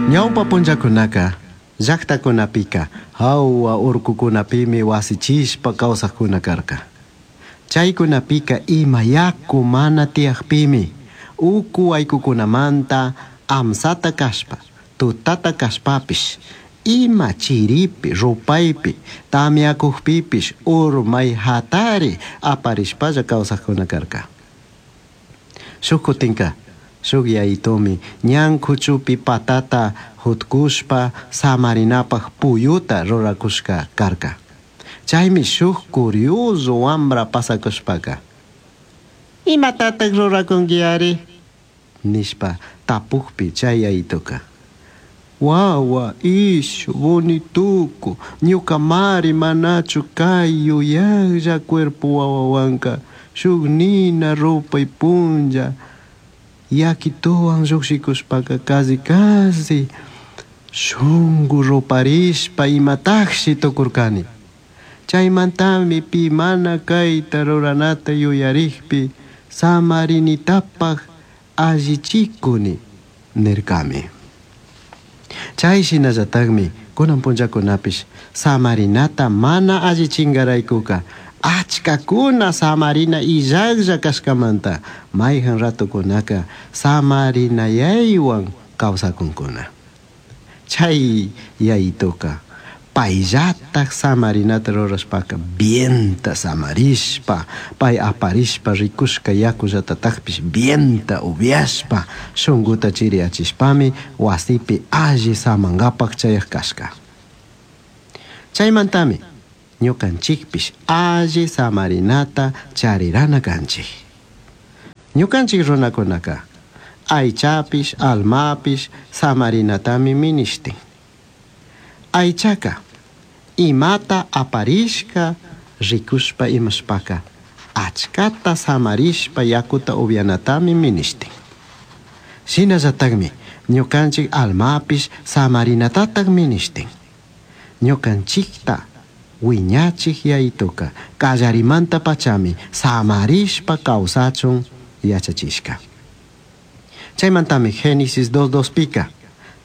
Ñaupa punllacunaca llajtacunapika jahua urcucunapimi huasichishpa causajcuna carca. Chaicunapika ima yacu mana tiyajpimi ucu huaicucunamanta amsata cashpa, tutata cashpapish, ima chiripi, rupaipi, tamyacujpipish urmai jatari aparishpalla causajcuna carca. Shuj cutinca shuj yayitomi ñan cuchupi patata jutcushpa samarinapaj puyuta ruracushca carca. Chaimi shuj curioso wambra pasacushpaca: "Imatataj ruracunguiari?" nishpa tapujpi chay yayitoca: "Wawa, ishu, bonitucu, ñucamari manachu cay yuyajlla cuerpo wawahuanca shuj nina rupai punlla yaquituwan llujshikushpaca casi casi shungu ruparishpa imatajshi tucurcani. Chaimantami pi mana caita ruranata yuyarijpi samarinitapaj allichicuni" nircami. Chay shinallatajmi kunan punllakunapish samarinata mana allichingaraykuka achkakuna samarina illajlla kashkamanta mayjan ratukunaka samarinayaywan kawsakunkuna. Chay yayituka payllataj samarinata rurashpaka bienta samarishpa, pay aparishpa rikushka yakullatatajpish bienta upiashpa shunkuta chiriyachishpami wasipi alli samankapak chayaj kashka. Chaymantami ñukanchikpish alli samarinata charirana kanchik. Ñukanchik runakunaka aychapish almapish samarinatami minishtin. Aychaka imata aparishka rikushpa imashpaka achkata samarishpa yakuta upianatami minishtin. Shinallatakmi ñukanchik almapish samarinatatak minishtin. Ñukanchikta wiñachik yayituka kallarimanta pachami samarishpa kawsachun yachachishka. Chaymantami Génesis 2.2 pika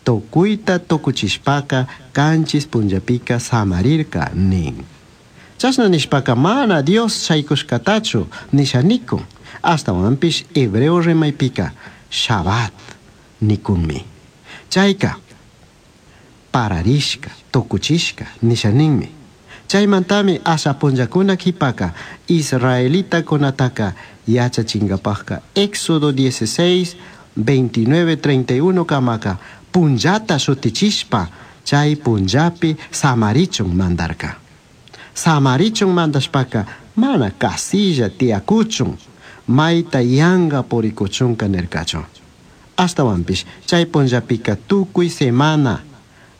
tukuyta tukuchishpaka kanchis punllapika samarirka nin. Chashna nishpaka mana Dios shaykushkatachu nisha nikun, ashtawanpish hebreo rimaypika Shabbat nikunmi. Chayka pararishka, tukuchishka nisha ninmi. Chaymantami asha punllakuna kipaka israelitakunataka yachachinkapajka Éxodo 16, 29, 31 kamaka punllata shutichishpa chay punllapi samarichun mandarka. Samarichun mandashpaka mana casilla tiyakuchun, mayta yanga purikuchunka nirkachu. Ashtawanpish chay punllapika tukuy semana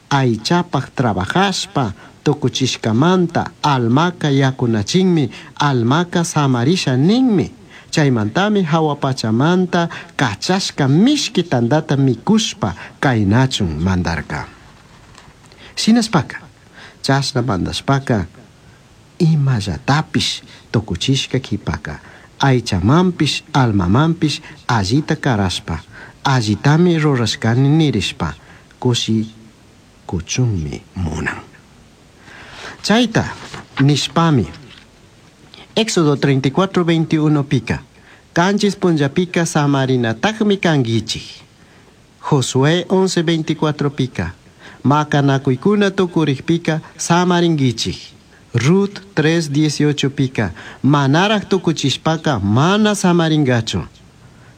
aychapaj trabajashpa tukuchishkamanta almaka yakunachinmi, almaka samarisha ninmi. Chaymantami hawa pachamanta kachashka mishki tantata mikushpa kaynachun mandarka. Shinashpaka, chashna mandashpaka imallatapish tukuchishka kipaka aychamanpish almamanpish allita karashpa allitami rurashkani nirishpa kushi kuchunmi munan. Chayta nishpami Éxodo 34, 21 pika kanchis punllapika samarinatajmi kankichik. Josué 11, 24 pika makanakuykuna tukurikpika samarinkichik. Ruth 3, 18 pika manaraj tukuchishpaka mana samaringachu.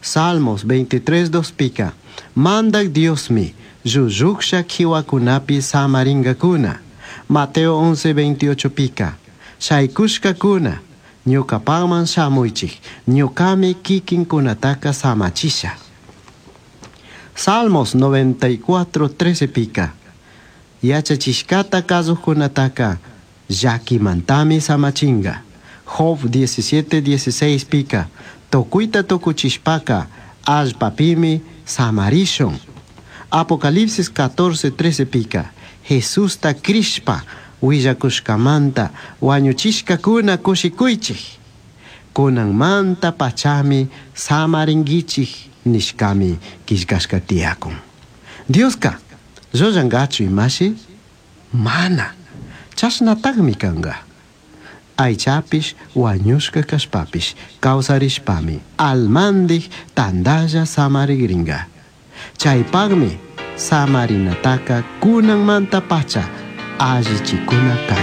Salmos 23, 2 pika mandak Diosmi llulluksha kiwakunapi samaringakuna. Mateo 11, 28 pika shaykushkakuna ñukapakman shamuychik, ñukami kikinkunataka samachisha. Salmos 94, 13 pika yachachishkata kazujkunataka llakimantami samachinga. Job 17, 16 pika tukuyta tukuchishpaka allpapimi samarishun. Apocalipsis 14, 13 pika Jesusta crishpa willakushkamanta wañuchishkakuna kushikuychik. Kunanmanta pachami samarinkichik nishkami killkashka tiyakun. Dioska Llullangachu imashi? Mana. Chashnatajmi canga. Aichapish huañushca cashpapish causarishpami almandij tandalla samarigringa. Chaipajmi samarinataca cunanmantapacha allichicuna canchij.